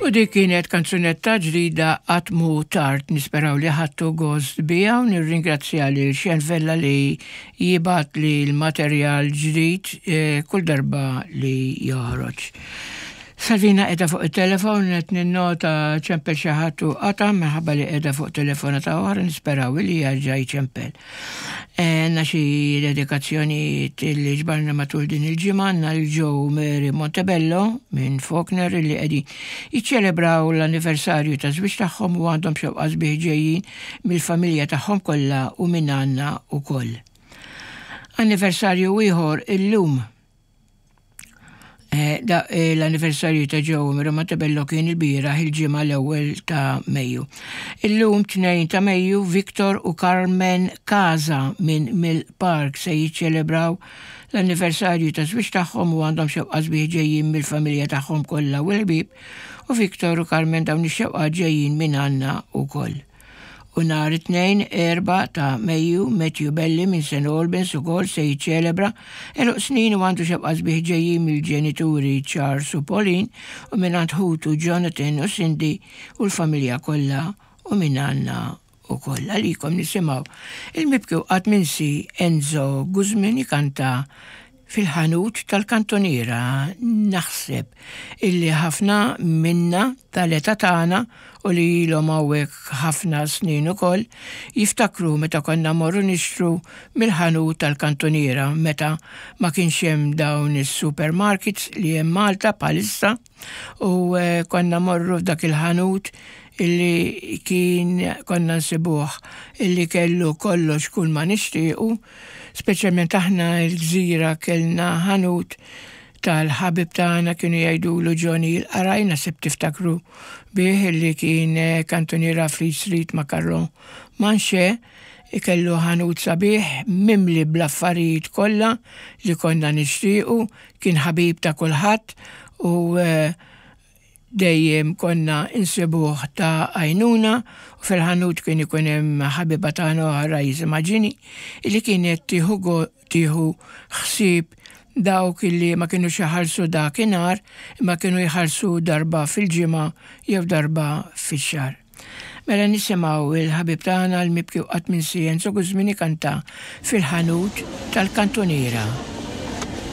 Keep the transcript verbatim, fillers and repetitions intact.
U dik kienet kanzunetta ġdida, "Qatt Mhu Tard", nisperaw li ħadtu gost biha u nirringrazzja lil Xen Vella li jibgħat li l-materjal ġdid eh, kull darba li joħroġ. Salvina qiegħda fuq il-telefon, qed ninnota ċempel xi ħadd u qata' minħabba li qiegħda fuq telefonata oħra, nisperaw li jerġa' jċempel. Għandna xi dedikazzjoni li ġbarna matul din il-ġimgħa. Għandna l-Joe Mary Montebello minn Faulkner li qegħdin jiċċelebraw l-anniversarju ta' żwieġ tagħhom u għandhom xewqa sbieħ ġejjin mill-familja tagħhom kollha u minn għandna ukoll. Anniversarju ieħor illum. Eh, da, eh, l-anniversarju ta' Joe Mary Montebello kien il-bieraħ, il-Ġimgħa, l-ewwel ta' Mejju. Illum, tnejn ta' Mejju, Victor u Carmen Kaza minn Mill Park se jiċċelebraw l-anniversarju ta' żwieġ tagħhom u għandhom xewqa sbieħ ġejjin mill-familja tagħhom kollha u l-ħbieb, u Victor u Carmen, dawn ix-xewqa ġejjin minn għandna ukoll. U nhar it-Tnejn, erba' ta' Mejju, Matthew Belli minn Saint Albans ukoll se jiċċelebra għeluq snin u għandu xewqa sbieħ ġejjin mill-ġenituri Charles u Pauline u minn għand ħutu Jonathan u Cindy u l-familja kollha u minn għandna ukoll. Għalikom nisimgħu il-mibki u qatt minsi Enzo Guzman jikanta "Fil-Ħanut tal-Kantoniera". Naħseb illi ħafna minna tal-età tagħna u li ilhom hawnhekk ħafna snin ukoll jiftakru meta konna morru nixtru mill-ħanut tal-kantoniera, meta ma kienx hemm dawn is-supermarkets li hemm Malta bħalissa, u eh, konna morru f'dak il-ħanut illi kien konna nsibuh illi kellu kollox, kull ma nixtiequ. Speċjalment aħna l-Gżira kellna ħanut tal-ħabib tagħna, kienu jgħidulu Johnny l-Qaraj, naħseb tiftakru bih, illi kien eh, kantoniera Fleet Street ma' Carlo Manche. Kellu ħanut sabiħ mimli bl-affarijiet kollha li konna nixtiequ, kien ħabib ta' kulħadd u eh, dejjem konna insibuh ta' għajnuna, u fil-ħanut kien ikun hemm ħabiba tagħna oħra jisimha Ġini illi kienet tieħu go- tieħu ħsieb dawk illi ma kienu iħallsu dakinhar imma kienu jħallsu darba fil-ġimgħa jew darba fix-xahar. Mela nisimgħu il-ħabib tagħna, l-mibki u qatt minsi Enzo Guzman, kanta "Fil-Ħanut tal-Kantoniera".